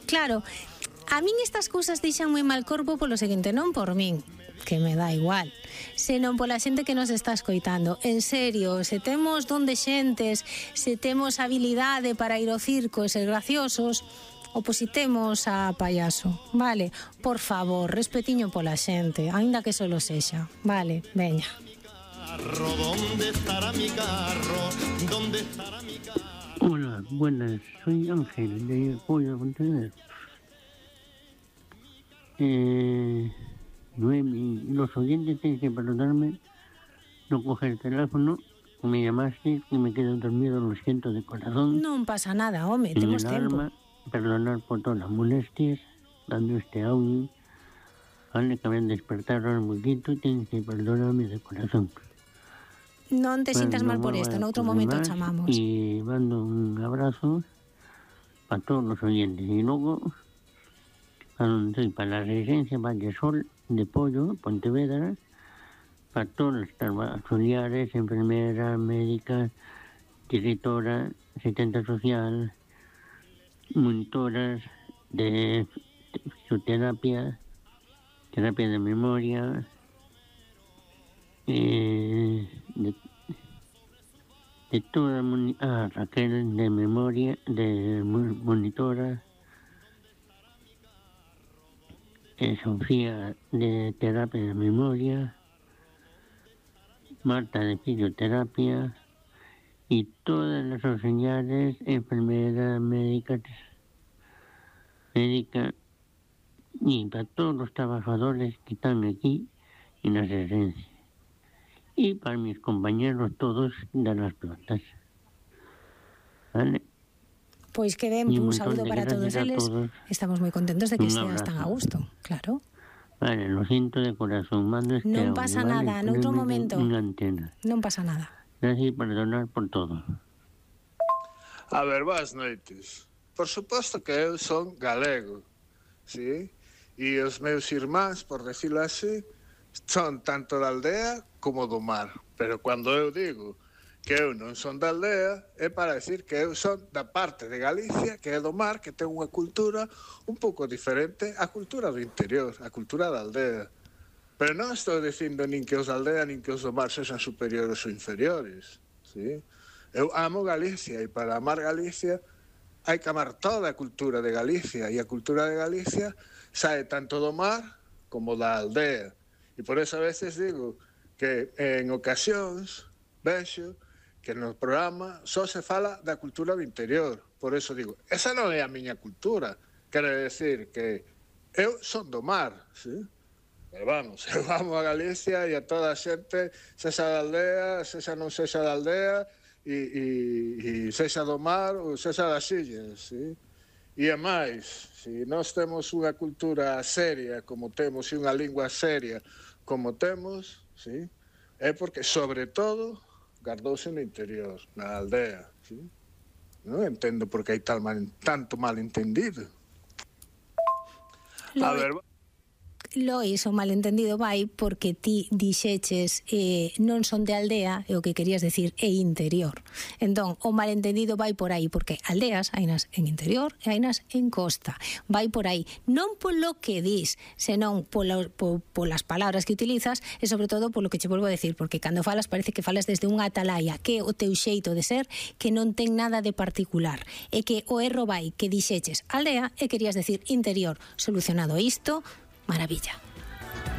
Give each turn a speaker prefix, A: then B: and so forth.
A: Claro, a min estas cousas deixan moi mal corpo polo seguinte, non por min, que me dá igual, senón pola xente que nos está escoitando. En serio, se temos don de xentes, se temos habilidade para ir ao circo e ser graciosos, opositemos a payaso, vale? Por favor, respetiño pola xente, aínda que solo sexa, vale? Veña.
B: ¿Dónde estará mi carro? ¿Dónde estará mi carro?
C: Hola, buenas, soy Ángel de Pollo Pontevedra. Noemi, los oyentes tienen que perdonarme no coger el teléfono, me llamaste y me quedé dormido, lo siento de corazón.
A: Non pasa nada, home, temos tempo.
C: Alma, perdonar por todas las molestias, dando este audio. Vale, que me han despertado un poquito, tienes que perdonarme de corazón.
A: Non te sintas mal por esto, en outro momento chamamos.
C: Y mando un abrazo para todos los oyentes. Y luego, soy para la residencia Valle Sol de Pollo, Pontevedra, para todos los auxiliares, enfermeras, médicas, directora, asistente social, monitoras de fisioterapia, terapia de memoria, de toda Raquel de memoria, de monitora, Sofía de terapia de memoria, Marta de fisioterapia y todas las auxiliares, enfermeras, médicas y para todos los trabajadores que están aquí en la residencia. Y para mis compañeros todos de las plantas. ¿Vale?
A: Pois que ben, un saúdo para todos eles. Estamos moi contentos de que esteas tan a gusto, claro.
C: Vale, lo siento de corazón. Mando este
A: non pasa
C: audio,
A: nada,
C: ¿vale?
A: noutro momento.
C: Unha antena.
A: Non pasa nada.
C: Gracias por perdonar por todo.
D: A ver, boas noites. Por suposto que eu son galego, sí? E os meus irmáns, por decirlo así, son tanto da aldea como do mar. Pero cando eu digo que eu non son da aldea, é para decir que eu son da parte de Galicia, que é do mar, que ten unha cultura un pouco diferente á cultura do interior, á cultura da aldea. Pero non estou dicindo nin que os da aldea nin que os do mar sexan superiores ou inferiores, ¿sí? Eu amo Galicia e para amar Galicia hai que amar toda a cultura de Galicia e a cultura de Galicia sae tanto do mar como da aldea. E por eso a veces digo que en ocasións vexo que no programa só se fala da cultura do interior. Por eso digo, esa non é a miña cultura. Quero decir que eu son do mar, ¿sí? Pero vamos, eu amo a Galicia e a toda a xente, sexa da aldea, sexa non sexa da aldea, e sexa do mar ou sexa das illas, ¿sí? E é máis, se nós temos unha cultura seria como temos e unha lingua seria como temos, ¿sí? É porque, sobre todo, gardouse no interior, na aldea, ¿sí? Non entendo por que hai tanto malentendido. A ver...
A: Lois, o malentendido vai porque ti dixeches non son de aldea e o que querías decir é interior. Entón, o malentendido vai por aí porque aldeas hainas en interior e hainas en costa. Vai por aí, non polo que dis, senón polas palabras que utilizas e sobre todo polo que che volvo a decir, porque cando falas parece que falas desde unha atalaya, que é o teu xeito de ser, que non ten nada de particular, e que o erro vai que dixeches aldea e querías decir interior. Solucionado isto, maravilla.